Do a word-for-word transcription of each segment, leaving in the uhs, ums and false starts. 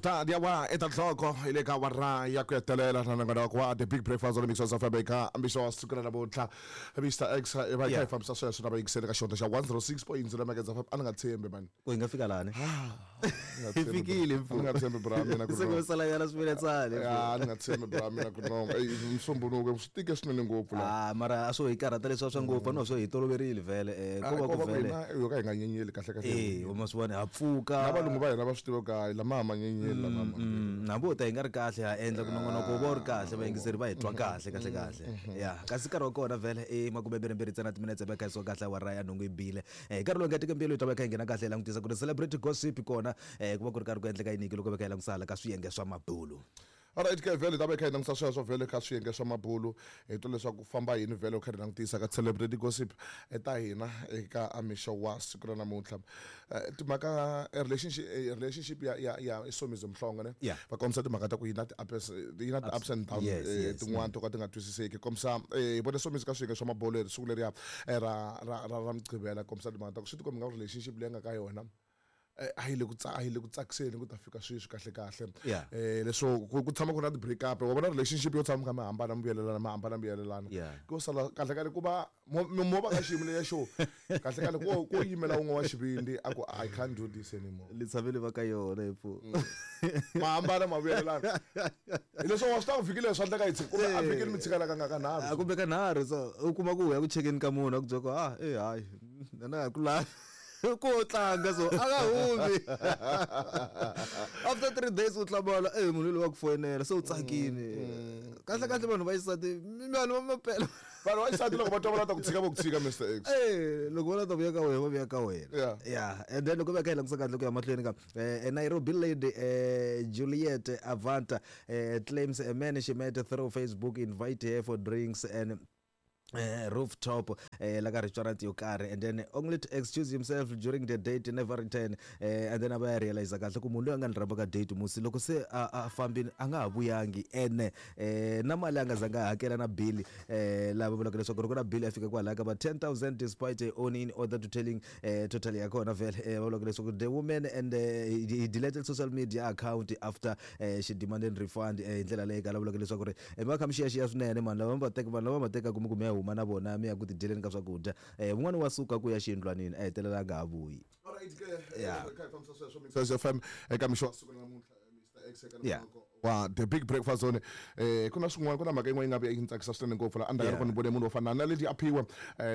Ta dia wa eight o'clock hi le ka awara ya ku hetelela na nongonoko wa The Big Breakfast on Mix of Africa ambiso wa siku ra namuntlha Mister X i va kha hi fambisa sweswo na vayingiseli ka xihundla xa one zero six point zero Mageza F M. A ni nga tshembi man ku hi nga fika lani hi hi fikile a ni nga tshembi bra mina ku se ku sala yana swiletsani a ni nga tshembi bra mina ku no msombunuko swi tike swinene ngopfu la ah mara a swo hi karhata leswi swa ngopfu no swo hi toloverile vhele eh ko va ku vhele yo ka hi nga nyenyeli kahle kahle eh u ma swi vona ha pfuka na valungu va hina va swi tiva ka lama ma nyenyeli hambi wo ta hi nga ri kahle ha endla ku nongonoko va ri kahle vayingiseri va hi twa kahle kahle kahle ya kasi nkarhi wa kona vhele i makume mbirhi mbirhi ntsena timinetse va kha hi kahle awara ya nhungu yi bile nkarhi lowu nga teka mbuyelo yi ta va kha yi nghena kahle hi langutisa ku ri celebrity gossip kona ku va ku ri karhi ku endleka yini loko va kha hi langutisa hala ka swiyenge swa mabulu. Alright ke vhele ta va kha hi langutisa sweswo vhele ka swiyenge swa mabulu hi twa leswaku famba yini vhele u kha hi langutisa ka celebrity gossip eta hina eka amixo wa siku ra namuntlha timhaka relationship relationship ya ya ya Somizi Mhlongo ne va kombisa timhaka ta ku yi na ti-ups yi na ti-ups and downs tin'wana to ka ti nga twisiseki kombisa hi vone Somizi ka swiyenge swa mabulu leri siku leriya ra ra ra ra Mugqivela kombisa timhaka ta ku swi tikombi nga relationship leyi nga ka yona a yi le ku a yi le ku tsakiseni ku ta fika sweswi kahle kahle eh leswo ku tshama ku na ti-break up wa vona relationship yo tshama kha mi hambana mi vuyelelana mi hambana mi vuyelelana ku sala kahle kahle ku va mo va ka xiyimo leya xo kahle kahle ku ku yimela wun'we wa xivindi a ku I can't do this anymore li tshamele va ka yona hi pfu ma hambana ma vuyelelana hi leswo wa swi ta ku fikile swa endleka hi tshika kumbe a fikile mi tshikala ka nga ka nharhu kumbe ka nharhu so u kuma ku ya ku chekeni ka munhu a ku byela ku ah eh hayi na ku lavi ku tlanga so a nga humi after three days u hlamala eh munhu loyi wa ku foyinela se u tsakini kahle kahle vanhu va xisati vanhu va mapela vanhu va xisati loko va twa va lava ku tshika va ku tshika Mister X eh loko va lava ku vuya ka wena va vuya ka wena yeah and then loko va kha hi langutisa kahle ku ya mahlweni ka Nairobi lady Juliet Avanta claims a man she met through Facebook invite her for drinks and Uh, rooftop uh, like a restaurant yo karhi and then only to excuse himself during the date never return uh, and then a realize kahle ku munhu loyi a nga ni rhamba ka date musi loko se a a fambini a nga ha vuyangi ene eh na mali a nga zanga hakela na bill eh lava vulaka leswaku loko na bill ya fika kwalaya ka va ten thousand despite owning in order to telling eh totally ya kona vhele eh va vulaka leswaku the woman and uh, he deleted social media account after uh, she demanded refund hi ndlela leyi ka vulaka leswaku ri va kha mi xiyaxiya swinene mani lava va teka vanhu lava va teka kumbe kumbe ya huma na vona mi ya ku tidyeleni ka swakudya eh un'wana wa suka ku ya xiyindlwanini a hetelela a nga ha vuyi. Alright ke kha hi fambisa sweswo Mixers F M eka mixo wa siku ra namuntlha Mister X eka nongonoko wa The Big Breakfast Zone eh ku na swin'wana ku na mhaka yin'wana yi nga vuya yi tsakisa swinene ngopfu la endzhaku loko ni vone munhu wo fana na Lady Aphiwe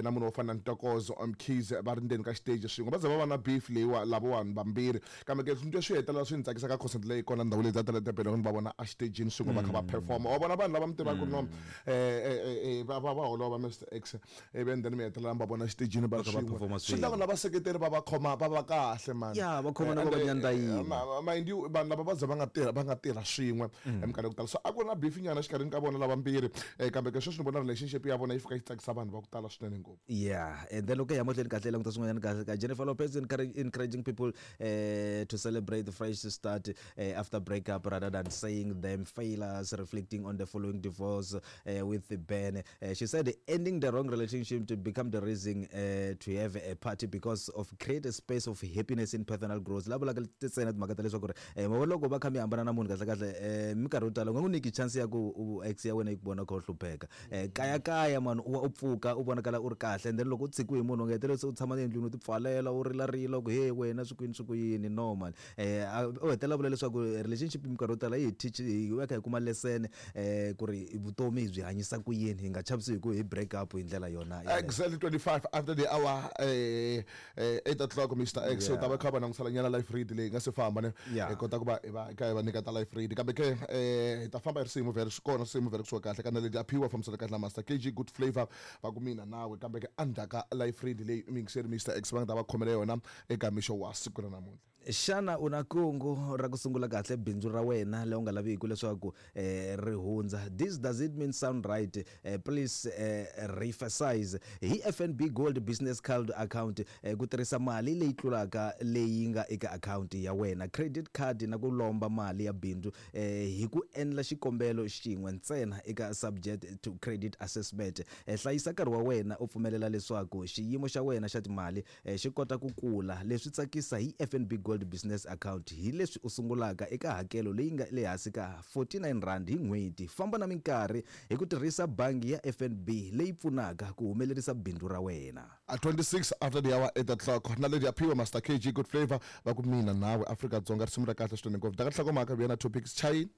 na munhu wo fana na Ntokozo Mkhize va ri ndzeni ka xiteji swin'we va ze va va na beef leyiwa lavawani vambirhi kambe ke swinto swi hetelela swi ni tsakisa ka concert leyi kona ndhawu leyi ta tala Durban loko ni va vona a xitejini swin'we va kha va performa wa vona vanhu lava mi tivaka no eh va va va holova Mister X ivi and then mi hetelela mi va vona xitejini va swin'we swi endla ku lava seketeri va va khoma va va kahle man ya va khoma na va nyandza yini mind you vanhu lava va ze va nga tirha va nga tirha swin'we eminkarhi ya ku tala so a ku ri na beef nyana exikarhini ka vona lavambirhi kambe ke sweswi ni vona relationship ya vona yi fika yi tsakisa vanhu va ku tala swinene ngopfu yeah and then loko hi ya mahlweni kahle languta swin'wanyana kahle ka Jennifer Lopez encouraging people uh, to celebrate the fresh start uh, after breakup rather than saying them failures, reflecting on the following divorce uh, with Ben. Uh, she said ending the wrong relationship to become the reason uh, to have a party because of create a space of happiness in personal growth. Lava vulaka ntsena timhaka ta leswaku ri eh loko va kha mi hambana na munhu kahle kahle eh minkarhi yo tala u nga n'wi nyiki chance ya ku ex ya wena yi ku vona kha u hlupheka eh kaya kaya mani u u pfuka u vonakala u ri kahle and then loko u tshikiwe hi munhu u nga hetelela se u tshama endlwini u tipfalela u rilarila ku he wena swi kwini swi ku yini no man eh u hetelela vula leswaku relationship minkarhi yo tala yi hi teach hi va kha hi kuma lesson eh ku ri vutomi hi byi hanyisa ku yini hi nga chavisi hi ku hi break up hi ndlela yona exactly twenty-five after the hour eh eight o'clock Mister X u ta va kha va langutisela nyana life read leyi nga se famba ne hi kota ku va hi va ka hi va nyika ta life read kambe ke eh hi ta famba hi risimu vhele swi kona risimu vhele kusuka kahle ka na Lady Aphiwe fambisana kahle na Master K G Good Flavor va ku mina nawe kambe ke endzhaku life read leyi mixer Mister X va nga ta va khomela yona eka mixo wa siku ra namuntlha. Xana u na kungu ra ku sungula kahle bindzu ra wena leyi u nga laviki leswaku eh, ri hundza? This does it mean sound right? Eh, please eh, reemphasize. Hi F N B Gold Business Card account eh, ku tirhisa mali leyi tlulaka leyi nga eka account ya wena, credit card na ku lomba mali ya bindzu eh, hi ku endla xikombelo xin'we ntsena eka subject to credit assessment. Eh, hlayisa nkarhi wa wena u pfumelela leswaku xiyimo xa wena xa timali eh, xi kota ku kula. Leswi tsakisa hi F N B Gold Gold Business Account hi leswi u sungulaka eka hakelo leyi nga le hansi ka forty-nine rand hi n'hweti. Famba na minkarhi hi ku tirhisa bangi ya F N B leyi pfunaka ku humelerisa bindzu ra wena. At twenty-six after the hour eight o'clock, na lady aphiwe Master K G, Good Flavor, va ku mina nawe Afrika Dzonga, risimu ra kahle swinene ngopfu. Daka nhlokomhaka vuya na topics chayini.